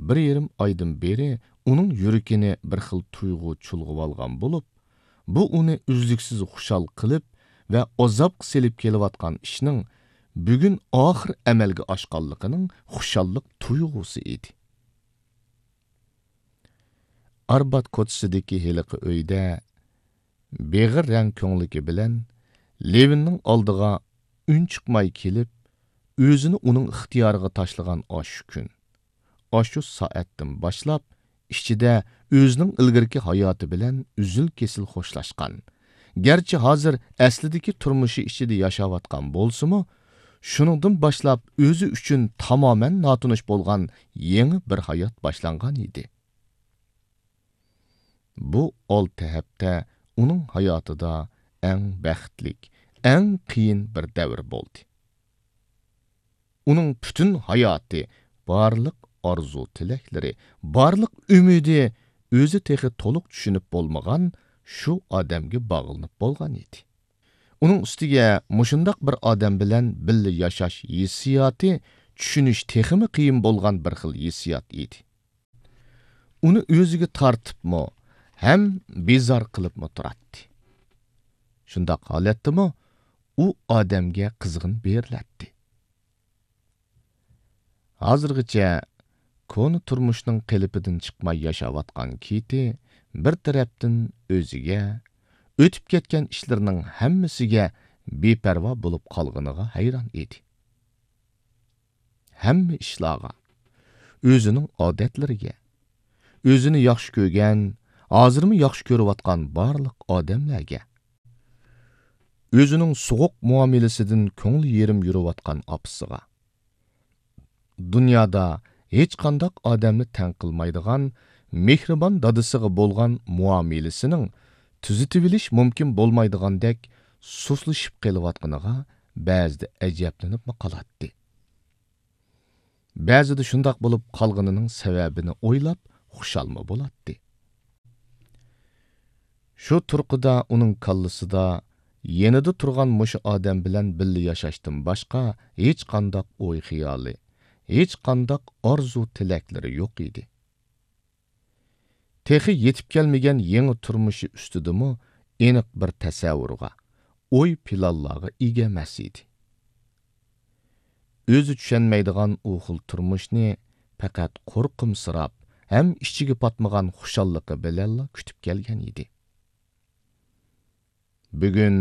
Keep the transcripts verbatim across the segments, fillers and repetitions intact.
بىر يېرىم ئايدىن بېرى ئۇنىڭ يۈرىكىنى بىر خىل تۇيغۇ چۇلغىۋالغان بولۇپ، بۇ ئۇنى ئۈزلۈكسىز خۇشال قىلىپ ۋە ئازابقا سېلىپ كېلىۋاتقان ئىشنىڭ بۈگۈن ئاخىر ئەمەلگە ئاشقانلىقىنىڭ خۇشاللىق تۇيغۇسى ئىدى. ئاربات كوچىسىدىكى ھېلىقى ئۆيدە بېغىر رەڭ كۆڭلىكى بىلەن لېۋىننىڭ ئالدىغا ئۈنچىقماي كېلىپ، ئۆزىنى ئۇنىڭ ئىختىيارىغا تاشلىغان ئاشۇ كۈن، ئاشۇ سائەتتىن باشلاپ، ئىچىدە ئۆزىنىڭ ئىلگىرىكى ھاياتى بىلەن ئۈزۈل-كېسىل خوشلاشقان، گەرچە ھازىر ئەسلىدىكى تۇرمۇشى ئىچىدە ياشاۋاتقان بولسىمۇ، شۇنىڭدىن باشلاپ ئۆزى ئۈچۈن تامامەن ناتونۇش بولغان يېڭى بىر ھايات باشلانغان ئىدى. بۇ ئالتە ھەپتە ئۇنىڭ ھاياتىدا ئەڭ بەختلىك، ئەڭ قىيىن بىر دەۋر بولدى. ئۇنىڭ پۈتۈن ھاياتى، بارلىق ئارزۇ-تىلەكلىرى، بارلىق ئۈمىدى ئۆزى تېخى تولۇق چۈشىنىپ بولمىغان شۇ ئادەمگە باغلىنىپ بولغان ئىدى. ئۇنىڭ ئۈستىگە مۇشۇنداق بىر ئادەم بىلەن بىللە ياشاش ھېسسىياتى چۈشىنىش تېخىمۇ قىيىن بولغان بىر خىل ھېسسىيات ئىدى. ئۇنى ئۆزىگە تارتىپمۇ، ھەم بىزار قىلىپمۇ تۇراتتى. شۇنداق ھالەتتىمۇ ئۇ ئادەمگە قىزغىن بېرىلەتتى. ھازىرغىچە كونا تۇرمۇشنىڭ قېلىپىدىن چىقماي ياشاۋاتقان كىتى بىر تەرەپتىن ئۆزىگە، ئۆتۈپ كەتكەن ئىشلىرىنىڭ ھەممىسىگە بىپەرۋا بولۇپ قالغىنىغا ھەيران ئىدى. ھەممە ئىشلارغا، ئۆزىنىڭ ئادەتلىرىگە، ئۆزىنى ياخشى كۆرگەن، ھازىرمۇ ياخشى كۆرۈۋاتقان بارلىق ئادەملەرگە، ئۆزىنىڭ سوغۇق مۇئامىلىسىدىن كۆڭلى يېرىم يۈرۈۋاتقان ئاپىسىغا، دۇنيادا ھېچقانداق ئادەمنى تەڭ قىلمايدىغان مېھرىبان دادىسىغا بولغان مۇئامىلىسىنىڭ تۈزىتىۋېلىش مۇمكىن بولمايدىغاندەك سۇسلىشىپ قېلىۋاتقىنىغا بەزىدە ئەجەبلىنىپمۇ قالاتتى. بەزىدە شۇنداق بولۇپ قالغىنىنىڭ سەۋەبىنى ئويلاپ خۇشالمۇ بولاتتى. شۇ تۇرقىدا ئۇنىڭ كاللىسىدا يېنىدا تۇرغان مۇشۇ ئادەم بىلەن بىللە ياشاشتىن باشقا ھېچقانداق ئوي-خىيالى، ھېچقانداق ئارزۇ-تىلەكلىرى يوق ئىدى. تېخى يېتىپ كەلمىگەن يېڭى تۇرمۇشى ئۈستىدىمۇ ئېنىق بىر تەسەۋۋۇرغا، ئوي-پىلانلارغا ئىگە ئەمەس ئىدى. ئۆزى چۈشەنمەيدىغان ئۇ خىل تۇرمۇشنى پەقەت قورقۇمسىراپ ھەم ئىچىگە پاتمىغان خۇشاللىقى بىلەنلا كۈتۈپ كەلگەن ئىدى. بۈگۈن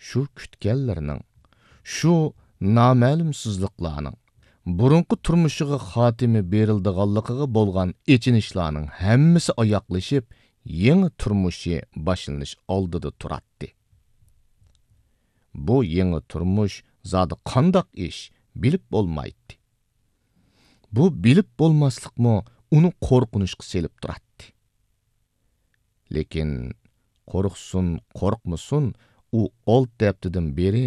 شۇ كۈتكەنلىرىنىڭ، شۇ نامەلۇمسىزلىقلارنىڭ، بۇرۇنقى تۇرمۇشىغا خاتىمە بېرىلىدىغانلىقىغا بولغان ئېچىنىشلارنىڭ ھەممىسى ئاياغلىشىپ، يېڭى تۇرمۇشى باشلىنىش ئالدىدا تۇراتتى. بۇ يېڭى تۇرمۇش زادى قانداق ئىش، بىلىپ بولمايتتى. بۇ بىلىپ بولماسلىقمۇ ئۇنى قورقۇنچقا سېلىپ تۇراتتى. لېكىن قورقسۇن، قورقمىسۇن، ئۇ ئالتە ھەپتىدىن بېرى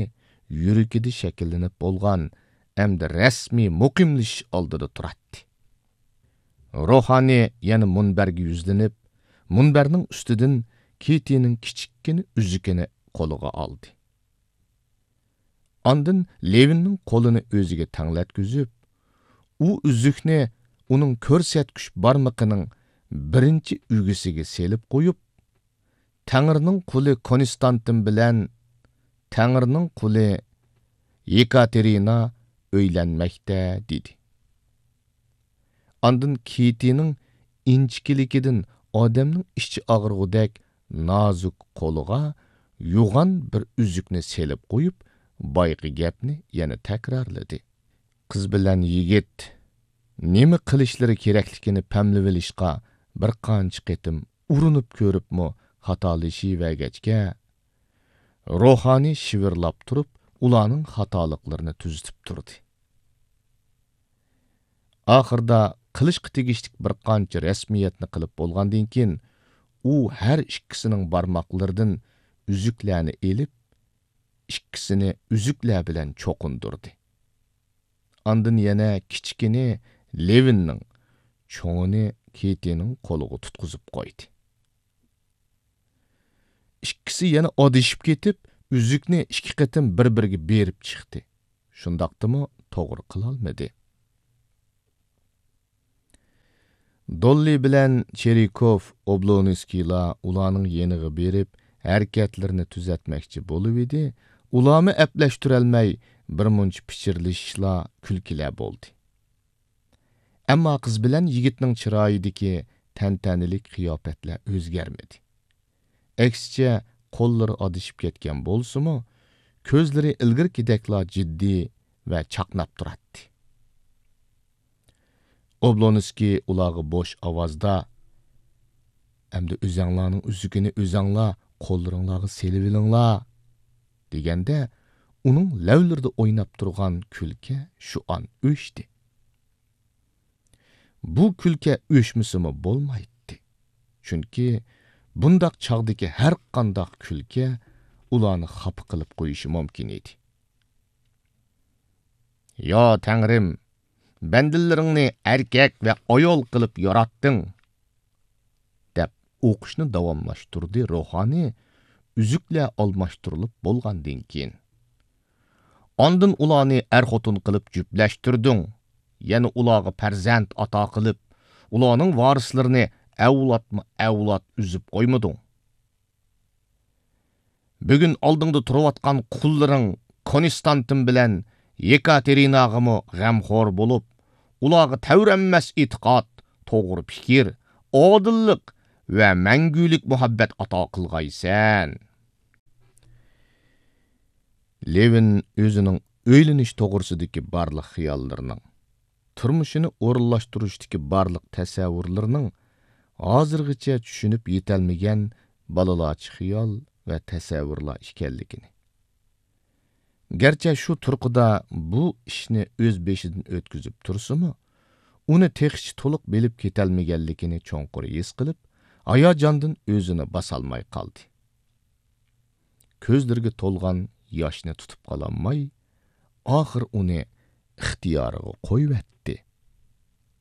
يۈرىكىدە شەكىللىنىپ بولغان ئەمدى رەسمىي مۇقىملىشىش ئالدىدا تۇراتتى. روھانى يەنە مۇنبەرگە يۈزلىنىپ، مۇنبەرنىڭ ئۈستىدىن كىتىنىڭ كىچىككىنە ئۈزۈكىنى قولىغا ئالدى. ئاندىن لېۋىننىڭ قولىنى ئۆزىگە تەڭلەتكۈزۈپ، ئۇ ئۈزۈكنى ئۇنىڭ كۆرسەتكۈچ بارمىقىنىڭ بىرىنچى ئۈگىسىگە سېلىپ قويۇپ، «تەڭرىنىڭ قۇلى كونستانتىن بىلەن تەڭرىنىڭ قۇلى يېكاتېرىنا ئۆيلەنمەكتە» دېدى. ئاندىن كىتىنىڭ ئىنچىكىلىكىدىن ئادەمنىڭ ئىچى ئاغرىغۇدەك نازۇك قولىغا يوغان بىر ئۈزۈكنى سېلىپ قويۇپ، بايىقى گەپنى يەنە تەكرارلىدى. قىز بىلەن يىگىت نېمە قىلىشلىرى كېرەكلىكىنى پەملىۋېلىشقا بىر قانچە قېتىم ئۇرۇنۇپ كۆرۈپمۇ خاتالىشىۋەرگەچكە، روھانى شىۋىرلاپ تۇرۇپ، ئۇلارنىڭ خاتالىقلىرىنى تۈزىتىپ تۇردى. ئاخىرىدا قىلىشقا تېگىشلىك بىر قانچە رەسمىيەتنى قىلىپ بولغاندىن كېيىن، ئۇ ھەر ئىككىسىنىڭ بارماقلىرىدىن ئۈزۈكلەرنى ئېلىپ، ئىككىسىنى ئۈزۈكلەر بىلەن چوقۇندۇردى. ئاندىن يەنە كىچىكىنى لېۋىننىڭ، چوڭىنى كىتىنىڭ قولىغا تۇتقۇزۇپ قويدى. ئىككىسى يەنە ئادىشىپ كېتىپ، ئۈزۈكنى ئىككى قېتىم بىر-بىرىگە بېرىپ چىقتى. شۇنداقتىمۇ توغرا قىلالمىدى. دوللى بىلەن چېرىكوف ئوبلونسكىيلار ئۇلارنىڭ يېنىغا بېرىپ، ھەرىكەتلىرىنى تۈزەتمەكچى بولۇۋىدى، ئۇلارمۇ ئەپلەشتۈرەلمەي، بىرمۇنچە پىچىرلىشىشلار، كۈلكىلەر بولدى. ئەمما قىز بىلەن يىگىتنىڭ چىرايىدىكى تەنتەنىلىك قىياپەتلەر ئۆزگەرمىدى. ئەكسىچە، قوللىرى ئادىشىپ كەتكەن بولسىمۇ، كۆزلىرى ئىلگىرىكىدەكلا جىددىي ۋە چاقناپ تۇراتتى. ئوبلونسكىي ئۇلارغا بوش ئاۋازدا، «ئەمدى ئۆزەڭلارنىڭ ئۈزۈكىنى ئۆزەڭلار قوللىرىڭلارغا سېلىۋېلىڭلار» دېگەندە، ئۇنىڭ لەۋلىرىدە ئويناپ تۇرغان كۈلكە شۇ ئان ئۆچتى. بۇ كۈلكە ئۆچمىسىمۇ بولمايتتى. چۈنكى بۇنداق چاغدىكى ھەرقانداق كۈلكە ئۇلارنى خاپا قىلىپ قويۇشى مۇمكىن ئىدى. «يا تەڭرىم، بەندىلىرىڭنى ئەركەك ۋە ئايال قىلىپ ياراتتىڭ» دەپ ئوقۇشنى داۋاملاشتۇردى روھانى ئۈزۈكلەر ئالماشتۇرۇلۇپ بولغاندىن كېيىن. «ئاندىن ئۇلارنى ئەر-خوتۇن قىلىپ جۈپلەشتۈردۈڭ، يەنە ئۇلارغا پەرزەنت ئاتا قىلىپ، ئۇلارنىڭ ۋارىسلىرىنى ئەۋلادمۇ ئەۋلاد ئۈزۈپ قويمىدىڭ. بۈگۈن ئالدىڭدا تۇرۇۋاتقان قۇللىرىڭ كونستانتىن بىلەن يېكاتېرىناغىمۇ غەمخور بولۇپ، ئۇلارغا تەۋرەنمەس ئېتىقاد، توغرا پىكىر، ئادىللىق ۋە مەڭگۈلۈك مۇھەببەت ئاتا قىلغايسەن.» لېۋىن ئۆزىنىڭ ئۆيلىنىش توغرىسىدىكى بارلىق خىياللىرىنىڭ، تۇرمۇشىنى ئورۇنلاشتۇرۇشتىكى بارلىق تەسەۋۋۇرلىرىنىڭ ھازىرغىچە چۈشىنىپ يېتەلمىگەن بالىلارچە خىيال ۋە تەسەۋۋۇرلار ئىكەنلىكىنى، گەرچە شۇ تۇرقىدا بۇ ئىشنى ئۆز بېشىدىن ئۆتكۈزۈپ تۇرسىمۇ، ئۇنى تېخىچە تولۇق بىلىپ كېتەلمىگەنلىكىنى چوڭقۇر ھېس قىلىپ، ھاياجاندىن ئۆزىنى باسالماي قالدى. كۆزلىرىگە تولغان ياشنى تۇتۇپ قالالماي، ئاخىر ئۇنى ئىختىيارىغا قويۇۋەتتى.